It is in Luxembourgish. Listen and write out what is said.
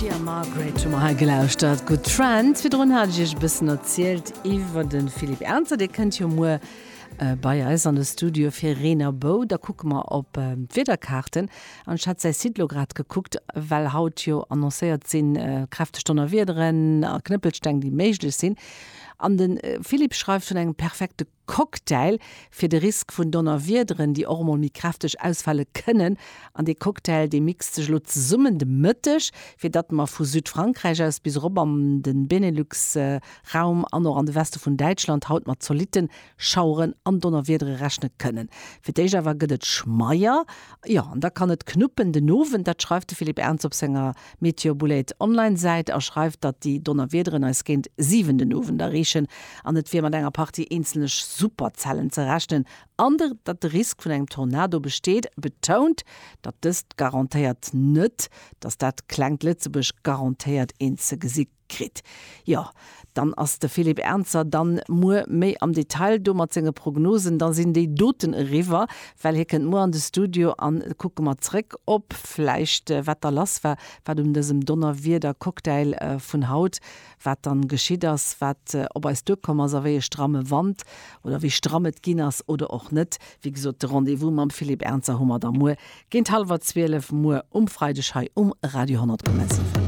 Katie a Margaret hu mer hei gelauschtert, Good Friends. Virdrun hat ech iech e bëssen erzielt iwwer de Philippe Ernzer. Dee kënnt jo muer bei eis an de Studio fir Reen a Bou. Da kucke mer op d'Wiederkaarten. An ech hat säi Site lo grad gekuckt, well haut jo annoncéiert sinn kräfteg Donnerwiederen a Knëppelsteng, déi méiglech sinn. An de Philippe schreift vun engem perfekte Cocktail fir de Risk vun Donnerwiederen, déi och emol méi kräfteg ausfale kënnen. An dee Cocktail, dee mixt sech elo zesummen de Mëtteg, fir datt mer vu Südfrankräich aus bis erop an de Benelux-Raum an och an de Weste vun Däitschland haut mat zolitte Schaueren an Donnerwiedere rechne kënnen. Fir d'éischt awer gëtt et schmeier, jo, an da kann et knuppen den Owend. Dat schreift de Philippe Ernz op senger Meteobullet Online-Säit a schreift, datt déi Donnerwiederen eis géint 7 den Owend erreechen an et wier mat enger Partie eenzelne Superzellen ze rechnen an datt de Risk vun engem Tornado besteet. Betount, datt dëst garantéiert net, datt dat klengt Lëtzebuerg garantéiert een ze gesi kritt. Jo, dann ass de Philippe Ernzer dann muer méi am Detail do mat senge Prognosen. Da sinn déi doten eriwwer, well hie kënnt muer an de Studio an kucke mer zréck op vläicht wat da lass war, wat un dësem Donnerwieder-Cocktail vun haut, wat dann geschitt ass, wat op eis duerkomm ass a wéi e stramme Wand oder wéi stramm et ginn ass oder och net. Wéi gesot, de Rendez-vous mam Philippe Ernzer hu mer da muer géint hallwer 12 muer um Freideg hei um Radio 10,7.